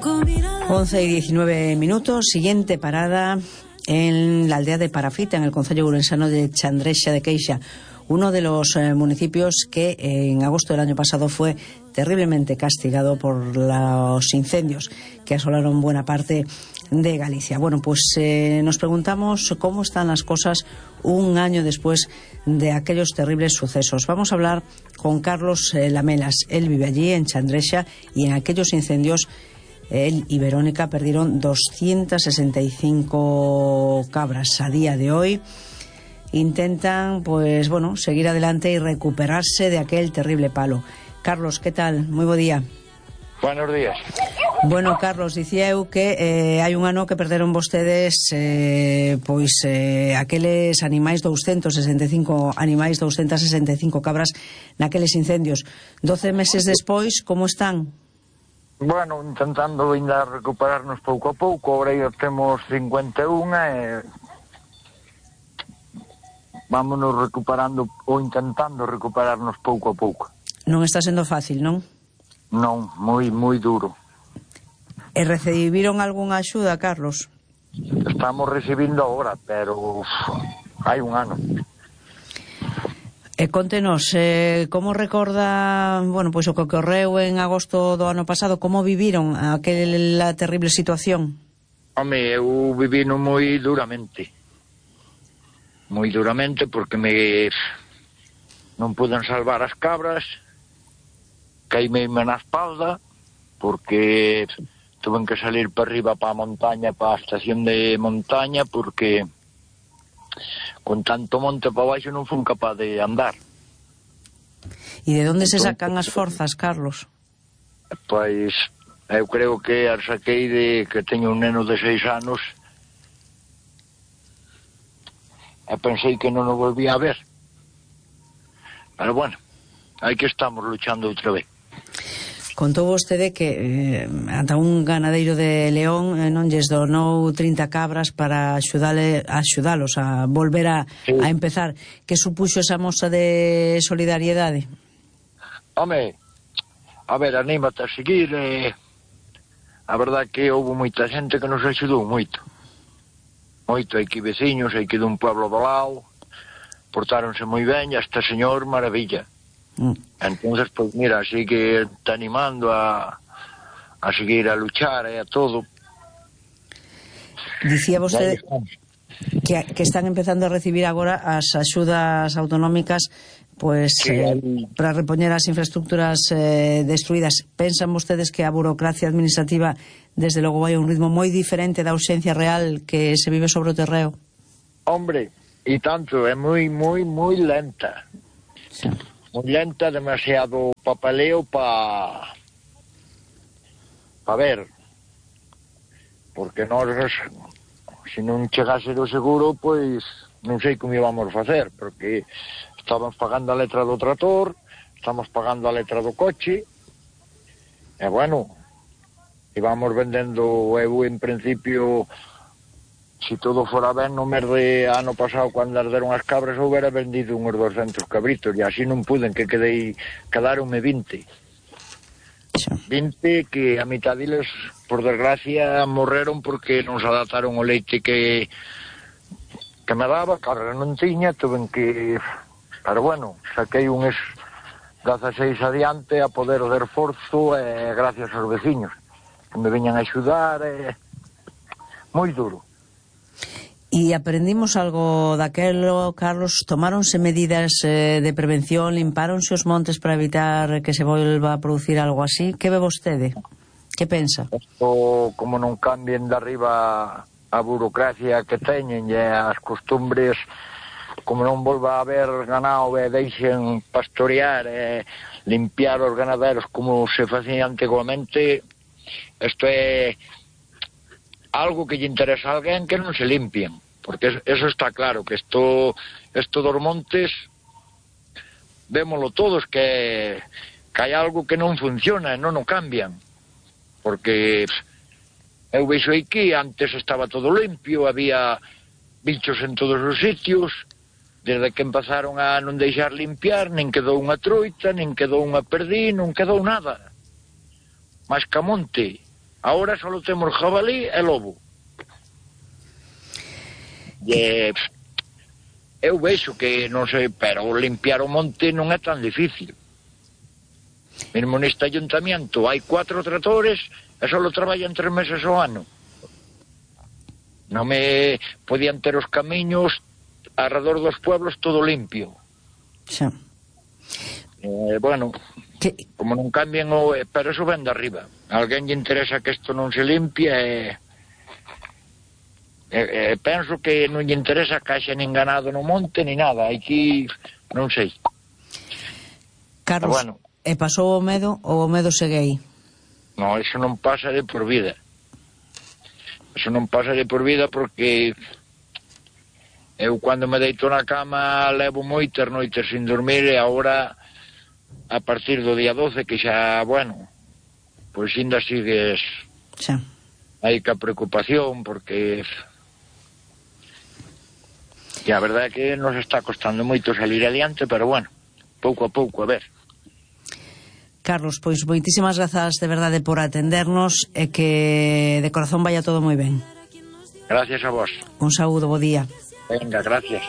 11:19, siguiente parada en la aldea de Parafita, en el concello ourensano de Chandrexa de Queixa, uno de los municipios que en agosto del año pasado fue terriblemente castigado por los incendios que asolaron buena parte de Galicia. Bueno, pues nos preguntamos cómo están las cosas un año después de aquellos terribles sucesos. Vamos a hablar con Carlos Lamelas. Él vive allí en Chandrexa y en aquellos incendios él y Verónica perdieron 265 cabras. A día de hoy intentan, pues bueno, seguir adelante y recuperarse de aquel terrible palo. Carlos, ¿qué tal? Muy buen día. Buenos días. Bueno, Carlos, dicía eu que hai un ano que perderon vostedes aqueles animais, 265 animais, 265 cabras naqueles incendios. 12 meses despois, como están? Bueno, intentando ainda recuperarnos pouco a pouco. Agora aí temos 51 e vámonos recuperando ou intentando recuperarnos pouco a pouco. Non está sendo fácil, non? Non, moi duro. E recibiron algunha axuda, Carlos? Estamos recibindo agora, pero hai un ano. Contenos, como recorda, bueno, pois o que ocorreu en agosto do ano pasado, como viviron aquela terrible situación? Home, eu vivino moi duramente porque non puden salvar as cabras, caíme na espalda porque tuven que salir para arriba para a montaña, para a estación de montaña, porque con tanto monte para baixo non fun capaz de andar. E de onde se sacan as forzas, Carlos? Pois eu creo que as saquei de que teño un neno de 6 anos e pensei que non o volvía a ver. Pero bueno, aí que estamos luchando outra vez. Contou vostede que ata un ganadeiro de León non lles donou 30 cabras para axudalos a volver a empezar. Que supuxo esa mostra de solidariedade? Home, a ver, anímate a seguir. A verdad que houve moita xente que nos axudou moito. Hai que veciños, hai que dun pueblo do lado, portáronse moi ben, e este señor, maravilla. Entonces, pues mira, sigue te animando a seguir a luchar a todo. Dicía vostede que están empezando a recibir agora as axudas autonómicas para repoñer as infraestructuras destruídas. Pensan vostedes que a burocracia administrativa desde logo vai a un ritmo moi diferente da ausencia real que se vive sobre o terreo? Hombre, e tanto, é moi lenta. Sí. Moi lenta, demasiado papeleo para ver, porque nós, se non chegase do seguro, pois non sei como íbamos facer, porque estamos pagando a letra do trator, estamos pagando a letra do coche, e bueno, íbamos vendendo. Eu en principio, se todo fora ben, no mes de ano pasado, cando arderon as cabras, eu hubiera vendido uns 200 cabritos, e así non puden, que quedaronme 20 que a mitad deles, por desgracia, morreron porque non se adaptaron o leite que me daba. Carga non tiña, tuven que... Pero bueno, saquei uns 16 adiante a poder de esforzo, gracias aos veciños que me veñan a axudar. Moi duro. E aprendimos algo daquelo, Carlos? Tomáronse medidas de prevención, limpáronse os montes para evitar que se volva a producir algo así? Que ve vostede? Que pensa? Esto, como non cambien de arriba a burocracia que teñen e as costumbres, como non volva a haber ganado e deixen pastorear e limpiar os ganaderos como se facía antiguamente, isto é algo que lle interesa a alguén que non se limpien, porque eso está claro, que isto dos montes vémolo todos, que hai algo que non funciona e non o cambian, porque eu veixo aquí, antes estaba todo limpio, había bichos en todos os sitios, desde que empezaron a non deixar limpiar, nin quedou unha troita, nin quedou unha perdí, non quedou nada, máis que a monte. Ahora só temos jabalí e lobo. E eu vexo que, non sei, pero limpiar o monte non é tan difícil. Mesmo neste ayuntamiento hai 4 tratores e só traballan 3 meses ao ano. Non me podían ter os camiños alrededor dos pueblos todo limpio. Xa. Bueno, como non cambien pero eso ven de arriba. A alguén lle interesa que isto non se limpie penso que non lle interesa que haxa nin ganado no monte ni nada. Aquí non sei. Carlos, bueno, e pasou o medo ou o medo segue aí? Non, eso non pasa de por vida. Eso non pasa de por vida porque eu cando me deito na cama levo moitas noites sin dormir e agora a partir do día 12 que xa, bueno, pois ainda sigues xa aí ca preocupación porque e a verdade é que nos está costando moito salir adiante, pero bueno, pouco a pouco, a ver. Carlos, pois moitísimas grazas de verdade por atendernos e que de corazón vaya todo moi ben. Gracias a vos. Un saúdo, bo día. Venga, gracias.